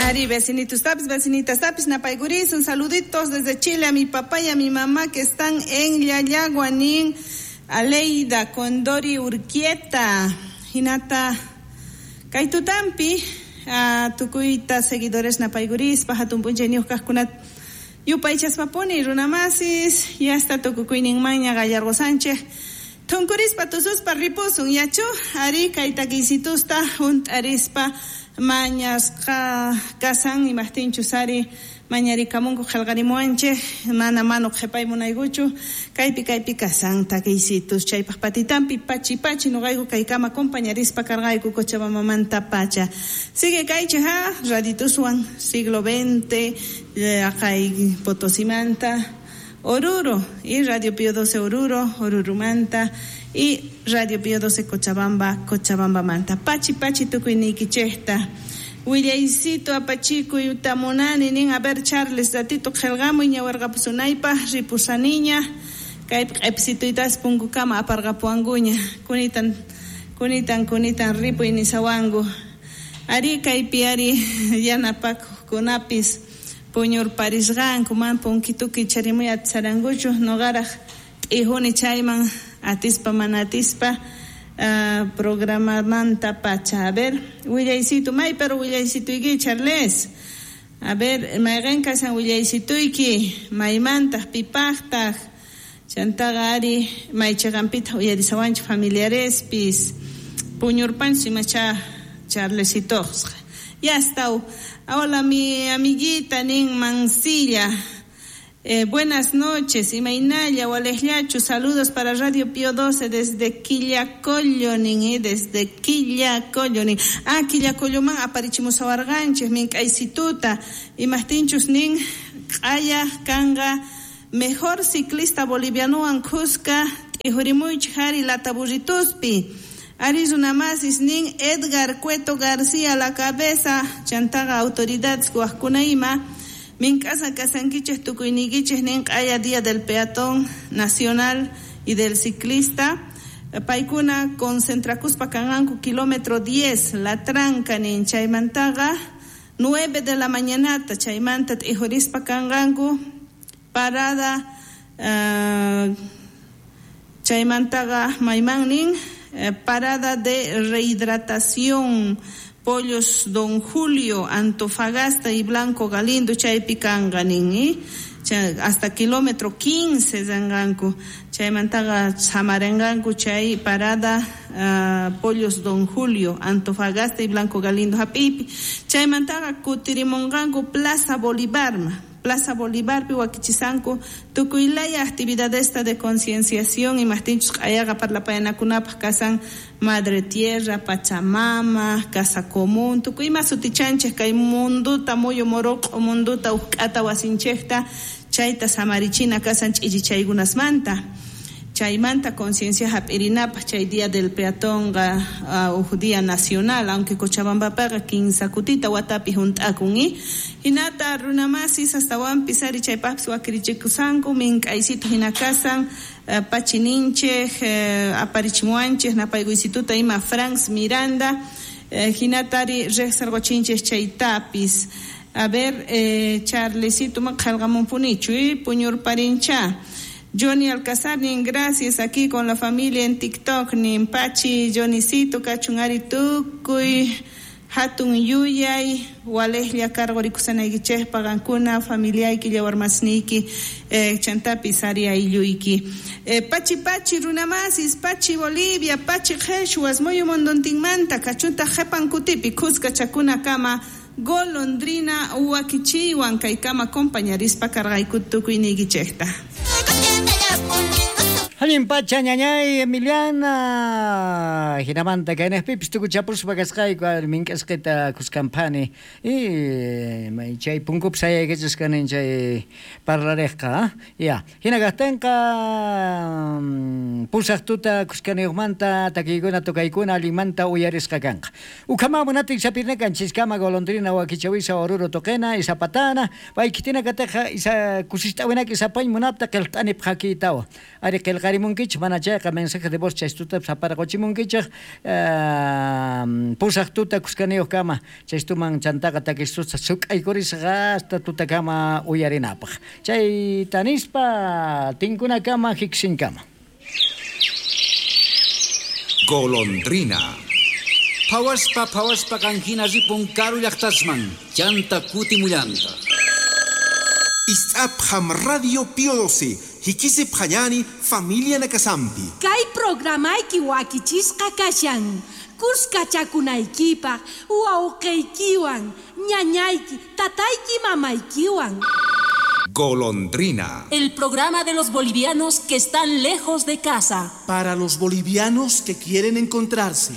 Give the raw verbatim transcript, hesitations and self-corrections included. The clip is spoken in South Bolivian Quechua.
Ari, vecinitos tapis, vecinitas tapis, napaiguris, un saluditos desde Chile a mi papá y a mi mamá que están en Llallagua, nin Aleida Condori Urquieta, hinata kaytutampi, uh, tukuyta seguidores napaiguris, hatun p'unchayniyuq kajkunat yupaychaspapuni runamasis, yasta tukukuyninmanña Gallardo Sánchez, tunkurispa tususpa ripusun yachu, ari kay takiysitusta hunt'arispa mañasqa kasan imajtinchus ari mañarikamunku qhelqarimuwanchej mana manu qhepay munaykuchu kaypi kaypi kasan takiysitus chaypaq patitampi pachi pachi noqayku kaykama compañarispa karqayku Cochabambamanta pacha sigue kaychej ha radituswan siglo veinte aqay Potosimanta Oruro y Radio Pío doce Oruro, Orurumanta y Radio Pío doce Cochabamba, Cochabambamanta. Pachi pachi tukuyniykichejta. Willaysito apachikuy utamunani nin a ver Charles ratito qhelqamuy ñawarqapusunaypaq ripusaniña kaypi q'episituytas punkukama aparqapuwankuña kunitan kunitan kunitan ripuy nisawanku ari kaypi ari yanapakuqkunapis puñurparisqanku man punkituki charimuy atisarankuchu noqaraq t'ijuni chayman atispa mana atispa Uh, programamanta pacha. A ver, willaysito, may pero willaysituyki Charles. A ver, mayqin kasan willaysituyki, maymantaq pipaqtaq, chantaqa ari maychiqanpitaq uyarisawanchik familiarespis, puñurpanchis imacha Charlesitoqqa. Ya está. Hola mi amiguita nin Mancilla. Eh, buenas noches, Imaynalla, Walejllachu, saludos para Radio Pío doce desde Quillacollo, nin, eh, desde Quillacollo, nin. Ah, Quillacolloman aparichimusawarqanchej, mink'aysituta, imajtinchus nin, q'aya kanqa, mejor ciclista bolivianowan khuska, t'ijurimuychej ari lataburrituspi. Ari runamasis nin, Edgar Cueto García la cabeza, chantaqa autoridades wajkuna ima, mink'asa kasankichej tukuyniykichej nin q'aya día del peatón nacional y del ciclista paykuna concentrakuspa kanqanku kilómetro diez la tranca nin chaymantaqa nueve de la mañanata chaymanta t'ijurispa kanqanku parada uh, chaymantaqa mayman nin eh, parada de rehidratación Pollos Don Julio, Antofagasta y Blanco Galindo, chaypi kanqa nin, eh? Hasta kilómetro quince zanganku, chaymantaqa samarenganku chay parada uh, Pollos Don Julio, Antofagasta y Blanco Galindo hap'ipi, chaymantaqa kutirimunqanku Plaza Bolivarma. Plaza Bolivarpi wakichisanku tukuylaya actividadesta de concienciación imajtinchus q'ayaqa parlapayanakunapaq kasan Madre Tierra, Pachamama, Casa Común, tukuy ima sutichanchej kay munduta muyu moroq'o munduta uqk'ata wasinchejta chayta samarichina kasan ch'ichichaykunasmanta chaymanta conciencia hap'irinapaq chay día del peatonqa uh, uj día nacional aunque Cochabambapaqa kinsa kutita watapi hunt'akun eh? Hinata runamasis astawanpis ari chaypaqpis wakirichikusanku mink'aysito hina kasan uh, pachininchej uh, aparichimuwanchej napaykuysituta ima Franz Miranda uh, hinata ari riqsirquchinchej chaytapis. A ver, eh, Charlesito ma qhelqamunpunichu eh? Puñurparincha. Johnny Alcázar, nin gracias aquí con la familia en TikTok, nin Pachi, Johnnycito, kachun ari tukuy, hatun yuyay, walejlla karqurikusanaykichejpaq qankuna, familiayki, llawarmasniyki, eh, chantapis ari aylluyki. Eh, pachi pachi runamasis, pachi Bolivia, pachi qheshwas, muyu munduntinmanta, kachuntaq qhepan kutipi, kuska chakunakama, golondrina wakichiwan kaykama compañarispa karqayku tukuyniykichejta. Allin pacha ñañay Emiliana hinamanta kaynaqpipis tukuchapuspa kasqayku mink'asqita kuskanphani y chay punkupis sayaykachasqani chay parlariqqa ya hina kaqtinqa pusaq tuta kuskaniyuqmanta takiykuna tukaykuna allinmanta uyarisqa kanqa ukhama munatin sapirnakanchiskama golondrina wakichawisa Oruro tuqina isapatana paykitina katiqa isa kusist'awinaki isapañ munapta qillq'anipaq hakiytawa ari qillqa Qhelqarimunkichej, mana chayqa mensaje de voz chaystutapis aparqochimunkichej pusaj tuta kuskaniyuqkama chaystuman chantaqa takistusta suk'aykurisqa hasta tutakama uyarinapaq. Chayta nispa tinkunakama hiksinkama. Golondrina. Phawaspa phawaspa qanjina ripun karu llaqtasman, chanta kutimullanta. Is'apham Radio Pío doce, hikisi phañani familia nakasampi. Kay programayki wakichisqa kashan, kuskachakunaykipaq, wawqiykiwan, ñañayki, tatayki, mamaykiwan. Golondrina. El programa de los bolivianos que están lejos de casa. Para los bolivianos que quieren encontrarse.